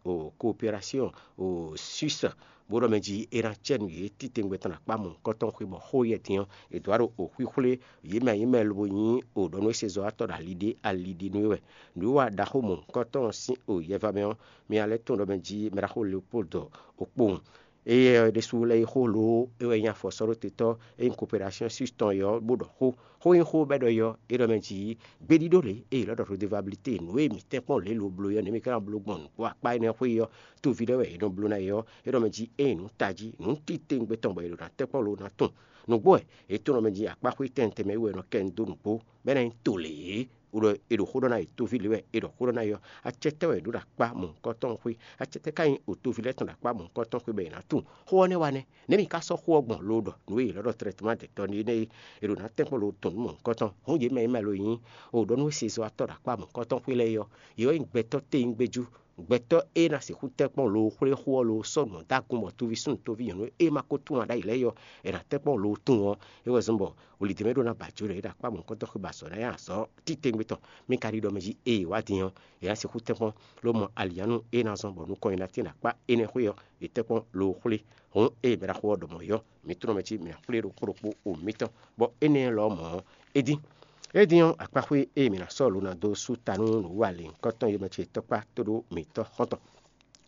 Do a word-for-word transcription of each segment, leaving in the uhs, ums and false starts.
o coopération o Suisse, bó ɖɔ mɛ jí é ná cɛ nú yě titewungbe tɔn ɖo akpá mɔ̌hunkɔtɔn xwé bɔ xó yɛ din ɔ́, è dǒ wá ɖo o xwíxwlé yě mɛ yě mɛ lobo nyí o ɖɔ nú é se zɔ́watɔ́ ɖo ali ɖé ali ɖé nú é wɛ. Nǔwiwa ɖaxó mɔ̌hunkɔtɔn sín o yɛva mɛ ɔ́, mi ná lɛ́ tunwun ɖɔ mɛ jí mɛ ɖaxó Leopoldo o kpowun. Éyɛ́ ɔ́ ɖésú lɛ́ yi xó lo é wɛ nyí afɔsɔ́ɖótetɔ́ e nyí Coopération Suisse tɔn é ɔ́ bó ɖɔ xó. Xó e nyí xó bɔ é ɖɔ é ɔ́, é ɖɔ mɛ jí gbéɖíɖó lě e è lɔ ɖɔ redevabilité nǔ e mǐ tɛ́nkpɔ́n lě lo bló é ɔ́, nɛ̌ mǐ ka ná bló gbɔn nǔgbó akpá énɛ́ xwé é ɔ́, toví lɛ́ɛ wɛ è nɔ bló ná é ɔ́, é ɖɔ mɛ jí ényí nǔ tají, nǔ titewungbe tɔn bɔ è ɖo ná tɛ́nkpɔ́n lo ná tunwun. Nǔgbó wɛ è tunɔ mɛ jí akpá xwé tɛntɛn mɛ é wɛ è nɔ kɛ nyi dó nǔgbó, bɔ é ná nyí to lě é. Ɖɔ è ɖo xó ɖɔ ná yi toví lě wɛ è ɖɔ xó ɖɔ ná yi ɔ́, acɛtɛ́ wɛ è ɖǒ ɖo akpá mɔ̌hunkɔtɔn xwé? Acɛtɛ́ ka nyí o toví lɛ́ɛ tɔn ɖo akpá mɔ̌hunkɔtɔn xwé bɔ è nǎ tunwun xó ɔ́ nɛ́ wa nɛ́? Nɛ̌ mi ka sɔ́ xó ɔ́ gbɔn lo ɖɔ nǔ e è lɔ ɖɔ trɛtɛ́man dɛ̌tɔ́ énɛ́ e è ɖo ná tɛ́nkpɔ́n lo tɔn nǔ mɔ̌hunkɔtɔn? Hǔn yě mɛ e mɛ lo nyí o ɖɔ nú sezɔ́watɔ́ ɖo akpá mɔ̌hunkɔtɔn xwé lɛ́ɛ é ɔ́, yě wɛ nyí gbɛtɔ́ téyín gbéjú, gbɛtɔ́ e ná sixú tɛ́nkpɔ́n lo xwlé xó ɔ́ lo sɔ́ nǔ dó agun bɔ toví súnnu toví nyɔ̌nu e ma ko tunwun ǎ ɖ'ayǐ lɛ́ɛ é ɔ́, è nǎ tɛ́nkpɔ́n lo tunwun ɔ́, é wɛ zɔ́n bɔ wlǐdɛ́mɛ ɖó ná ba jǒ ɖɔ é ɖo akpá mɔ̌hunkɔtɔn xwé ba azɔ̌ ná yá azɔ̌ titewungbe tɔn. Mi ka ɖi ɖɔ mɛ jí ée wá din ɔ́, è nǎ sixú tɛ́nkpɔ́n ló mɔ alǐnnyánú e ná zɔ́n bɔ nukɔn nyi ná tín ɖo akpá énɛ́ xwé ɔ́, è tɛ́nkpɔ́n lo xwlé. Hǔn ée mɛ ɖaxó ɔ́ ɖɔ mɔ̌ é ɔ́, mǐ tunɔ mɛ jí mǐ ná xwlé ɖokpó ɖokpó o mǐtɔn, bɔ énɛ́ lɔ mɔ̌ ɔ́, é dín. É dín ɔ́, akpáxwé e mǐ ná sɔ́ lo ná dó sú ta nú nǔwiwa lěhunkɔtɔn e mɛ ce tɔ́kpá tóɖó mǐtɔn xɔ́ntɔn.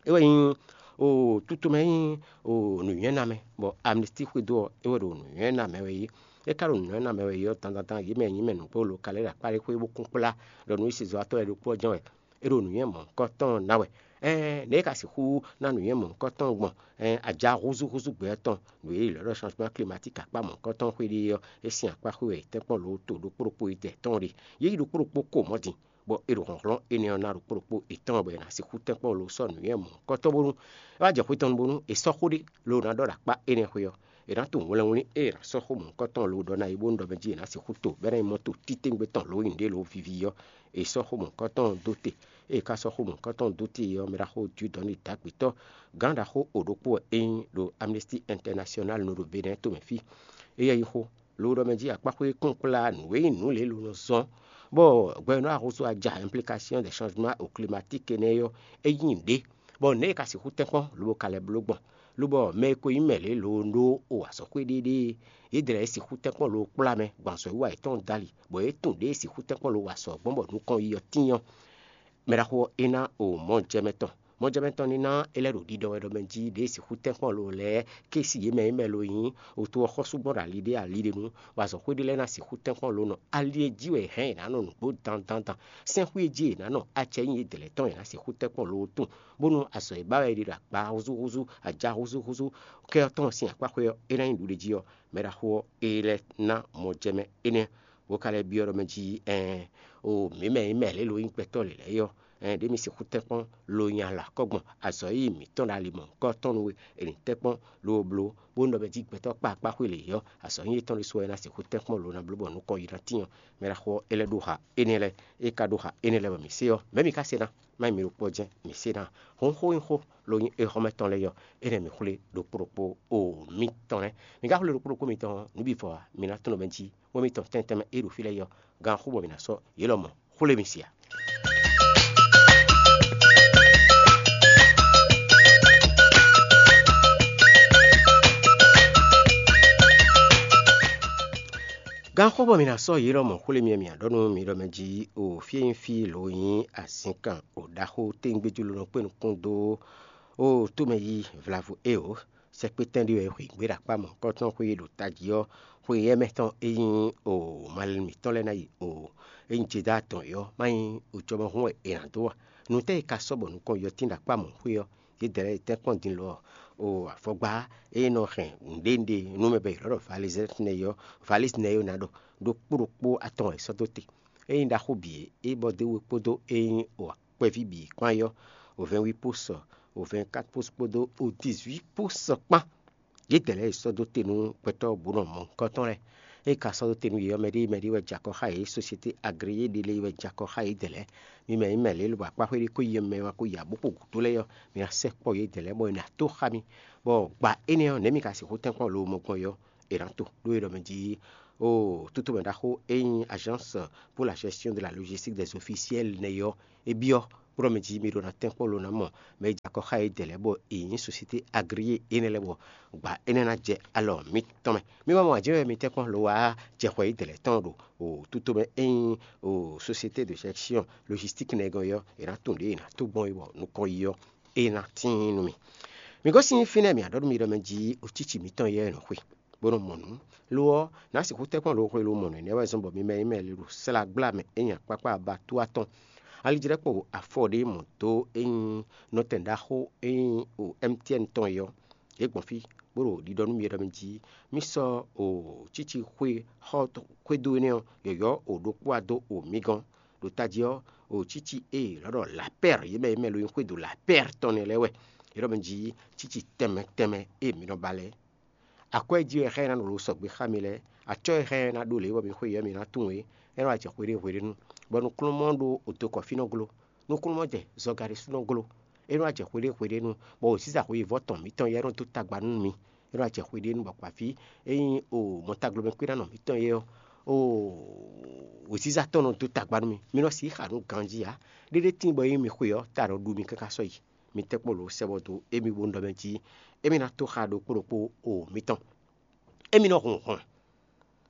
É wɛ nyí o tutu mɛ nyí o nǔnywɛ́namɛ, bɔ amnistie xwedó ɔ́, é wɛ ɖo nǔnywɛ́namɛ wɛ yí. É ka ɖo nǔnywɛ́namɛ wɛ yí ɔ́, dandandan yě mɛ nyí mɛ nǔgbó lo ka lɛ́ ɖo akpá ɖé xwé bó kún kplá ɖɔ nǔ e sezɔ́watɔ́ lɛ́ɛ ɖokpó ɔ́ jɛ́n wɛ. É ɖo nǔnywɛ́ mɔ̌hunkɔtɔn ná wɛ. Ɛɛn nɛ̌ é ka sixú ná nǔnywɛ́ mɔ̌hunkɔtɔn gbɔn? Ɛɛn aja húzúhúzú gbɛ ɔ́ tɔn ɖo yě lɛ́ ɖɔ changement climatique akpá mɔ̌hunkɔtɔn xwé ɖé ɔ́, é sín akpá xwé wɛ è tɛ́nkpɔ́n lo to ɖokpó ɖokpó yi tɛ tɔn ɖe. Yě yi ɖokpó ɖokpó ko mɔ̌ din, bɔ é ɖo hlɔ̌nhlɔ́n énɛ́ ɔ́ ná ɖokpó ɖokpó yětɔn bɔ è nǎ sixú tɛ́nkpɔ́n lo sɔ́ nǔnywɛ́ mɔ̌hunkɔtɔn bónú é wá jɛ xwé tɔn nu bónú è sɔ́ xó ɖé lo ná ɖɔ ɖo akpá énɛ́ xwé ɔ́, è nǎ tunwun hwlɛngwlín e è nǎ sɔ́ xó mɔ̌hunkɔtɔn lo ɖɔ ná yi bónú ɖɔ mɛ jí è nǎ sixú to bɔ é ná nyí mɔ́ to titewungbe tɔn lo nyi nǔɖé lo viví ɔ́, è sɔ́ xó mɔ̌hunkɔtɔn dó te. Ée è ka sɔ́ xó mɔ̌hunkɔtɔn dó te ɔ́, mɛ ɖaxó Dieudonné Dagbetɔ́, gǎn ɖaxó o ɖokpó wɛ é nyí ɖo Amnesty International nɔ ɖo Benɛ́ɛ tomɛ fí. Éyɛ́ yí xó lo ɖɔ mɛ jí akpáxwé kún kplá nǔ e nyí nǔ lě lo nɔ zɔ́n, bɔ gbɛ̌nɔ ahúzú aja implication des changements au climatique énɛ́ ɔ́, é nyí nǔɖé, bɔ nɛ̌ è ka sixú tɛ́nkpɔ́n lobo ka lɛ́ bló gbɔn? Lobɔ mɛ e ko nyí mɛ lě lo ɖó o azɔ̌xwé ɖéɖée, yědɛɛ lɛ́ɛ sixú tɛ́nkpɔ́n lo kplá mɛ gbɔn azɔ̌wiwa yětɔn dali, bɔ yě tunwun ɖěe sixú tɛ́nkpɔ́n lo wa azɔ̌ gbɔn bɔ nukɔn yi ɔ́ tíin ɔ́, mɛ ɖaxó ɔ́ é ná o mɔjɛmɛ tɔn. Mɔjɛmɛ tɔn ní ná é lɛ́ ɖo ɖiɖɔ wɛ ɖɔ mɛ jí ɖěe sixú tɛ́nkpɔ́n lo lɛ́ɛ ké si yě mɛ e mɛ lo nyí oto ɔ́ xɔ́sú gbɔn ɖo ali ɖé ali ɖé nu, bɔ azɔ̌xwé ɖé lɛ́ɛ ná sixú tɛ́nkpɔ́n lo nɔ ali e jí wɛ è hɛn è nǎ nɔ nǔgbó dandandan. Sɛ́nxwé e jí è nǎ nɔ acɛ nyí yědɛɛ lɛ́ɛ tɔn è nǎ sixú tɛ́nkpɔ́n lo tún, bónú azɔ̌ e ba wɛ è ɖe ɖo agba húzúhúzú, aja húzúhúzú kɛ ɔ́ tɔn sín akpáxwé ɔ́, é ná nyí nǔɖé jí ɔ́, mɛ ɖaxó ɔ́, é lɛ́ ná mɔjɛmɛ énɛ́. Bó ka lɛ́ byɔ́ ɖɔ mɛ jí ɛɛn o mǐ mɛ e mɛ lě lo nyí gbɛtɔ́ lě lɛ́ɛ ɔ́, ɛɛn ɖě mi sixú tɛ́nkpɔ́n lo nyi alɔ akɔ́ gbɔn azɔ̌ e mǐtɔn ɖo ali mɔ̌hunkɔtɔn nu é, è nǐ tɛ́nkpɔ́n lo bló, bónú ɖɔ mɛ jí gbɛtɔ́ kpá akpáxwé lě ɔ́, azɔ̌ nyí étɔn ɖésú wɛ é ná sixú tɛ́nkpɔ́n lo ná bló bɔ nukɔn yi ná tíin ɔ́, mɛ ɖaxó ɔ́, é lɛ́ ɖó ha énɛ́ lɛ́ɛ. É ka ɖó ha énɛ́ lɛ́ɛ bɔ mǐ se ɔ́, mɛ̌ mi ka se ná? Má nyí mi ɖokpó ɔ́ jɛ́n mǐ se ná. Hǔn xó nyí xó lo nyí éhɔ́mɛ tɔn lɛ́ɛ ɔ́, énɛ́ mǐ xwlé ɖokpó ɖokpó o mǐtɔn lɛ́ɛ. Mi ka xwlé ɖokpó ɖokpó mitɔn ɔ́, nǔ bǐ vɔ ɔ́, mi ná tunɔ mɛ jí wɛ mitɔn tɛntɛn mɛ e ɖo fí lɛ́ɛ ɔ́, gan xó bɔ mi ná sɔ́ yě lɔmɔ̌ xwlé mi sia. Gan xó bɔ mi ná sɔ́ yě lɔmɔ̌ xwlé mi, mi ɖɔ nú mi ɖɔ mɛ jí o fí e nyí fí lo nyí azǐnkan o ɖaxó téngbéjú lo nɔ kpé nukún dó o tómɛ yí vlavo e o. Sɛkpétɛn ɖé wɛ xwe gbé ɖo akpá mɔ̌hunkɔtɔn xwe e ɖo tají ɔ́, xwe éyɛ́ mɛ tɔn e nyí o malɛnu mǐtɔn lɛ́ɛ ná yi o e nyí Jedaa tɔn é ɔ́, má nyí o jɔmɔhún wɛ è nǎ dó a? Nǔtɛ́ e ka sɔ́ bɔ nukɔn yɔtín ɖo akpá mɔ̌ xwe ɔ́, yědɛɛ lɛ́ɛ yi tɛ́nkpɔ́n din lɔ o afɔgbá e nɔ hɛn nǔɖénúɖé nú mɛ bɔ è nɔ ɖɔ valizɛ́tnɛ é ɔ́, valizɛ́tnɛ é ɔ́ ná ɖɔ ɖokpó ɖokpó atɔn wɛ è sɔ́ dó te. É nyí ɖaxó bǐ é, é bɔ dó we kpódó é nyí o kpɛví bǐ kpán yɔ́, o vɛ́nwí pó sɔ, o vɛ́nkat pó kpódó o dizwí pó sɔ kpán. Yědɛɛ lɛ́ɛ e sɔ́ dó te nú gbɛtɔ́ bǔ nɔ mɔ̌hunkɔtɔn lɛ́ɛ. É ka sɔ́ dó te nú yě ɔ́, mɛɖée mɛɖée wɛ jɛ akɔ xá yě, société agréé ɖé lɛ́ɛ wɛ jɛ akɔ xá yědɛɛ lɛ́ɛ. Mi mɛ nyí mɛ lě lobɔ akpáxwé ɖé ko yi mɛ wá ko yi abǒ xo gǔdo lɛ́ɛ ɔ́, mi ná sɛkpɔ́ yědɛɛ lɛ́ɛ bɔ è nǎ tó xá mi. Bɔ gba énɛ́ ɔ́, nɛ̌ mi ka sixú tɛ́nkpɔ́n lo mɔ gbɔn é ɔ́, è nǎ to ɖó é ɖɔ mɛ jí o tútú mɛ ɖaxó e nyí Agence pour la gestion de la logistique des officiels nɛ́ ɔ́, é byɔ́ Kplɔ́ mi jí mi ɖo ná tɛ́nkpɔ́n lo ná mɔ mɛ e jɛ akɔ xá yědɛɛ lɛ́ɛ bɔ è nyǐ sosiyete agriye énɛ́ lɛ́ɛ bɔ gbǎ énɛ́ ná jɛ alɔ mitɔn mɛ. Mi ma mɔ ajɛ̌ wɛ mi tɛ́nkpɔ́n lo wá jɛ xwɛ yědɛɛ lɛ́ɛ tɔn ɖo o tutomɛ e nyí o sosiyete de jɛksyɔn logistique nɛgɔn ɔ́, è nǎ tunwun ɖě è nǎ tó gbɔn é bɔ nukɔn yi ɔ́, é ná tíin nú mi. Mi gosín fínɛ́ mǐ á ɖɔ nú mi ɖɔ mɛ jí o cíci mitɔn yɛ nɔ xwe, bó nɔ mɔ nǔ. Lo ɔ́, nǎ sixú tɛ́nkpɔ́n lo xwe lo mɔ nǔ énɛ́ wɛ zɔ́n bɔ mi mɛ e mɛ le ɖo slá gbla mɛ é nyi akpákpá aba tó atɔn. Alidrɛ́kpo afɔ ɖé mɔ dó é nyí nɔtɛn ɖaxó e nyí o M T N tɔn é ɔ́, yě gbɔn fí, bó ɖo ɖiɖɔ nú mi ɖɔ mi jí mì sɔ́ o cíci xwe xɔ xwédo énɛ́ ɔ́ yɔ̌yɔ́ o ɖokpó wá dó o mi gɔ́n. Ɖo tají ɔ́, o cíci e lɔ̌ ɖɔ lapɛ́r yě mɛ e mɛ lo nyí xwédo lapɛ́r tɔn nɛ́ lɛ́ɛ wɛ. É ɖɔ mi jí cíci tɛnmɛ tɛnmɛ e mi nɔ ba lɛ́ɛ. Akwɛ́ jí wɛ xá ɛ ná nɔ lo sɔgbe xá mi lɛ́ɛ. Acɔ́ e xá ɛ ná ɖó lě bɔ mi xwé yɔ̌ mi ná tunwun é, é nɔ wá jɛ xwe ɖé hwe ɖé nu, bɔ nukúnnú ɖó odokɔ fí nɔ glo. Nukúnnú jɛ zɔga ɖé sú nɔ glo. É nɔ wá jɛ xwe ɖé hwe ɖé nu, bɔ wěziza xweyǐvɔ́ tɔn mǐtɔn yɛ nɔ dó tagba nú mi. É nɔ wá jɛ xwe ɖé nu bɔ kpaví e nyí o mɔtaglomɛkwíɖánɔ mǐtɔn yɛ ɔ́, o wěziza tɔn nɔ dó tagba nú mi. Mi nɔ sixú xa nú ganjí ǎ. Ɖéɖé tíin bɔ é nyí mi xwe ɔ́, ta nɔ ɖu mi káká sɔ́ yi. Mi tɛ́nkpɔ́n lǒ sɛ bɔ dó émí bó nɔ ɖɔ mɛ jí émí ná tó xa ɖokpó ɖokpó o mitɔn. Émí nɔ hun hɔn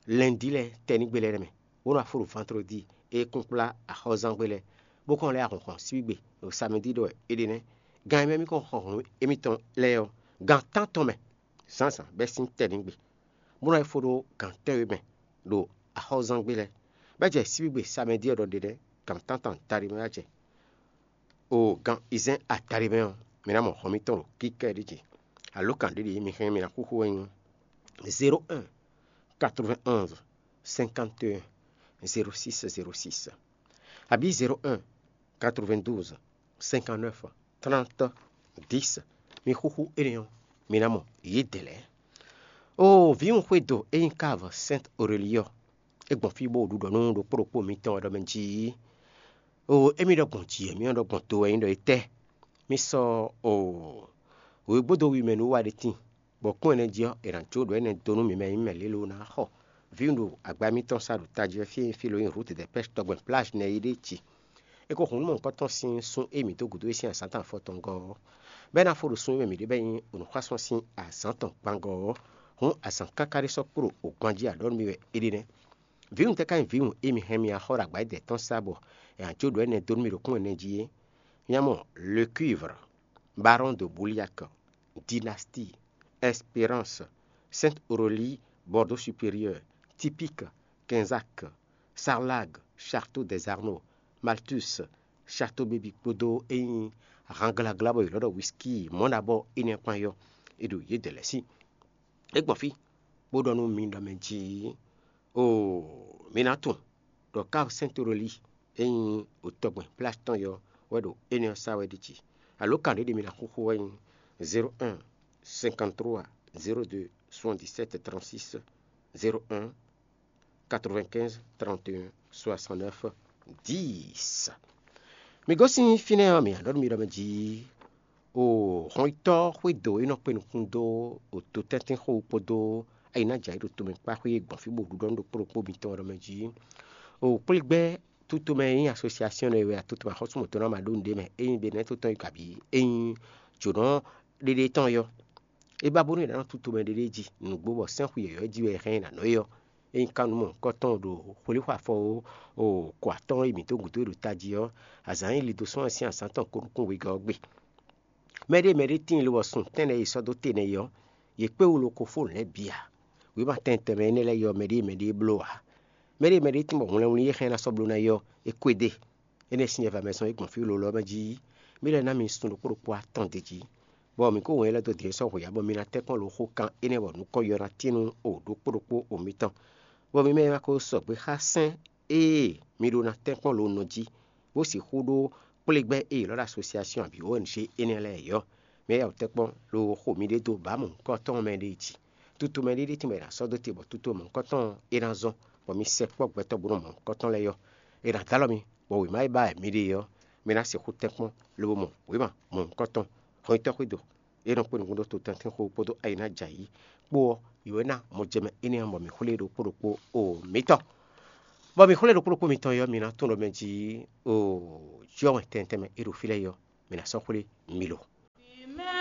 lɛ̌ndí lɛ́ɛ tɛnígbe lɛ́ɛ mɛ, bó nɔ afó ɖo vandrodi e kún kplá axɔ́zángbé lɛ́ɛ, bó kɔn lɛ́ ahɔ̌nhɔn síbígbe ɖo samɛdí ɖɔ wɛ é ɖe nɛ́. Gan e mɛ mì kɔn xɔ hɔn émítɔn lɛ́ɛ ɔ́, gan tántɔn mɛ zǎnzǎn bɛ́ sín tɛnígbe, bó nɔ yi fó ɖó gan tɛ́nwe mɛ ɖo axɔ́zángbé lɛ́ɛ, bɔ é jɛ síbígbe samɛdí ɔ́ ɖɔ ɖe nɛ́ gan tántɔn adaɖé mɛ wá jɛ. O gan izɛ́n adaɖé mɛ ɔ́, mi ná mɔ hɔn mitɔn ɖo kíkɛ́ ɖé jí. Alǒkan ɖě ɖě mi hɛn mi ná xúxú wɛ nyí zéro un quatre-vingt-onze cinquante et un zéro six zéro six, abǐ zéro un quatre-vingt-douze cinquante-neuf trente dix. Mi xúxú énɛ́ ɔ́, mi ná mɔ yědɛɛ lɛ́ɛ. O vǐwun xwédo e nyí Káv Sɛ́nt Orelíɔ, é gbɔn fí bó ɖu ɖɔ nú ɖokpó ɖokpó mitɔn wɛ ɖɔ mɛ jí o émí ɖɔ gbɔn jǐ, émí ɔ́ ɖɔ gbɔn do wɛ nyí ɖɔ é tɛ́. Mi sɔ́ o wěgbódo wi mɛ nú wa ɖé tíin, bɔ kún ɛnɛ jí ɔ́, è nǎ jó ɖɔ énɛ́ dó nú mi mɛ e nyí mɛ lě lo ná xɔ vǐwun ɖo agba mitɔn sá ɖo tají wɛ fí e nyí fí lo nyí Rut de Pɛ́sh tɔgbɛn plázh nɛ́ é ɖe jí. É ko hun nú mɔ̌hunkɔtɔn sín sún e mǐ dó gǔdo é sín azǎn tɔn afɔtɔngɔ́ ɔ́, bɔ é ná fó ɖo sun e mɛ mǐ ɖe bɔ é nyí nǔxwásún sín azǎn tɔn gbangɔ ɔ́, hǔn azǎn káká ɖé sɔ́ kpo ɖo gban jí aɖɔ̌ nú mì wɛ é ɖe nɛ́. Vǐwun tɛ́ ka nyí vǐwun e mi hɛn mi axɔ́ ɖo agba édɛɛ tɔn sá bɔ è nǎ jó ɖɔ énɛ́ dó nú mì ɖo kún ɛnɛ jí é? Nya mɔ Le Cuivre, Baron de Bouliac, Dynastie, Espérance, Sainte Aurélie, Bordeaux Supérieur, Typique, Quinzac, Sarlag, Château des Arnaud, Malthus, Château Baby kpódó e nyí hanglagla bɔ è lɔ̌ ɖɔ whisky mɔ̌ ɖabɔ énɛ́ kpán yɔ, è ɖo yědɛɛ lɛ́ɛ sí. É gbɔn fí, bó ɖɔ nú mi ɖɔ mɛ jí oo, mi ná tunwun ɖɔ Káv Sɛ́ntoroli e nyí otɔgbɛn Plásh tɔn yɔ wɛ ɖo énɛ́ ɔ́ sá wɛ ɖi jí. Alǒkan ɖě ɖe mi ná xúxú wɛ nyí zéro un cinquante-trois zéro deux soixante-dix-sept trente-six, zéro un quatre-vingt-quinze trente et un soixante-neuf dix. Mi gosín fínɛ́ ɔ́, mi nǎ ɖɔ nú mi ɖɔ mɛ jí o hɔnyitɔ́ xwédo e nɔ kpé nukún dó o dotɛ́ntɛ́nxó kpódó ayinájǎ e ɖo tomɛ kpá xwé gbɔn fí bó ɖuɖɔ nú ɖokpó ɖokpó mitɔn ɔ́ ɖɔ mɛ jí o kplé gbɛ́ tútomɛ e nyí asosiasiɔn e wɛ atoto axɔ́súmɔtɔn ná ma ɖó nǔɖé mɛ, ényí ɖe nɛ́ tó tɔn yi kabǐ ényí jǒnɔ ɖéɖé tɔn yɔ. É ba bónú è nǎ nɔ tútomɛ ɖéɖé jí nǔgbó bɔ sɛ́nxu yɔ̌yɔ́ jí wɛ è hɛn nyi nǎ nɔ é ɔ́, ényí ka nǔ mɔ̌hunkɔtɔn ɖo xwlíxwa afɔ ó, o kɔ atɔ́ e mǐ dó gǔdo e ɖo tají ɔ́, azǎn e lido sɔ́ wɛ sín azǎn tɔn ko nukún wegɔ́ ɔ́ gbe. Mɛɖée mɛɖée tíin lobɔ sun tɛ́nnɛ e è sɔ́ dó te nɛ́ é ɔ́, yě kpé wú lo ko fó nǔ lɛ́ɛ bǐ ǎ. Wěma tɛnmɛ tɛnmɛ énɛ́ lɛ́ɛ yɔ mɛɖée mɛɖée bló ǎ. Mɛɖée mɛɖée tíin bɔ hwlɛnwlí e xɛn ná sɔ́ bló ná é ɔ́, é kwédé. Énɛ́ sín nyɛ va mɛ zɔn é gbɔn fí lolo ɔ́ mɛ jí. Mǐ lɛ́ ná mi sun ɖokpó ɖokpó atɔn d'é jí, bɔ mǐ kó wɛn élɔ́ dó dǐn sɔ́ hweyǎ bɔ mi ná tɛ́nkpɔ́n lo xó kan énɛ́ bɔ nukɔn yɔ ná tín nú o ɖokpó ɖokpó o mitɔn, bɔ mi mɛ e ma ko sɔgbe xá sɛ́n ée mi ɖó ná tɛ́nkpɔ́n lo nɔ jí, bó sixú ɖó kplé gbɛ́ e è lɔ́ ɖo asosiasiɔn abǐ O N G énɛ́ lɛ́ɛ é ɔ́, mi yá wǔ tɛ́nkpɔ́n lo xo miɖée dó bǎ mɔ̌hunkɔtɔn mɛ ɖé jí. Tutu mɛ ɖé ɖíe tɔn bɔ è nǎ sɔ́ dó te bɔ tutu mɔ̌hunkɔtɔn é ná zɔ́n, bɔ mi sɛkpɔ́ gbɛtɔ́ bó nɔ mɔ̌hunkɔtɔn lɛ́ɛ yɔ. È nǎ dó alɔ mi, bɔ wěma e ba wɛ mi ɖe ɔ́, mi ná sixú tɛ́nkpɔ́n lobo mɔ wěma mɔ̌hunkɔtɔn. Hɔnyitɔ́ xwédo, é nɔ kpé nukún ɖó totɛ́ntinxó kpódó ayi ná jɛ ayǐ kpó ɔ́, yǒ é ná mɔjɛmɛ énɛ́ ɔ́ mɔ mǐ xwlé ɖokpó ɖokpó o mǐtɔn. Bɔ mi xwlé ɖokpó ɖokpó mitɔn e ɔ́, mi ná tunwun ɖɔ mɛ jí o, jɔ́ wɛn tɛntɛn mɛ e ɖo fí lɛ́ɛ é ɔ́, mi ná sɔ́ xwlé mi lo.